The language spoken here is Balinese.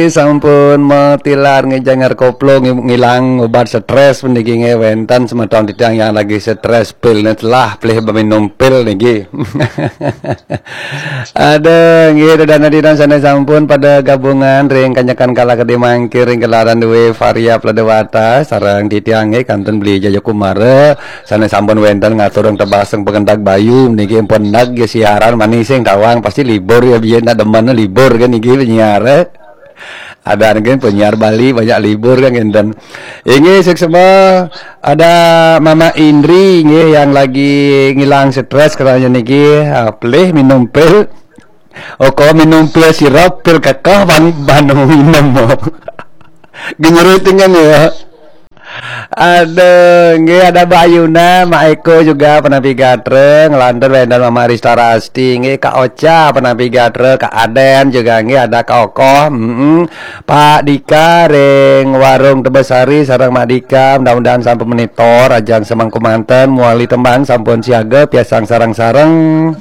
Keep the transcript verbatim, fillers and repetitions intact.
Sampun matilar ngejangar koplo ngi- ngilang obat stres puniki nggih wenten semeton titiang yang lagi stres pil telah pilih beminum pil niki. Ada nggih dana dinan sana sampun pada gabungan ring kanyakan kala kedhe mangkir ring gelaran duwe Varia Pledewata sareng titiang nggih kantun beli Jayakumara sana sampun wenten ngaturang tebaseng pengendak bayu niki pun nag ya siaran manising tawang pasti libur ya biyen nak demen libur kan niki penyiar. Ada kan penyiar Bali banyak libur kan ngenten. Inggih suksma ada Mama Indri nggih yang lagi ngilang stres katanya niki ah, pelih minum pil. Oh kok minum pil sirop pil kekeh ban ban minum. Genyeruting kan ya. Aduh, nggih ada Mbak Ayuna, Mak Eko juga penampi gatra, ngelantur wenten Mama Rista Rasti, nggih Kak Ocha penampi gatra, Kak Aden juga nggih ada Kak Okoh, mm Pak Dika ring Warung Tebesari sareng Mak Dika, mudah-mudahan sampun monitor ajang semangku manten, muali tembang sampun siaga piasang sareng-sareng.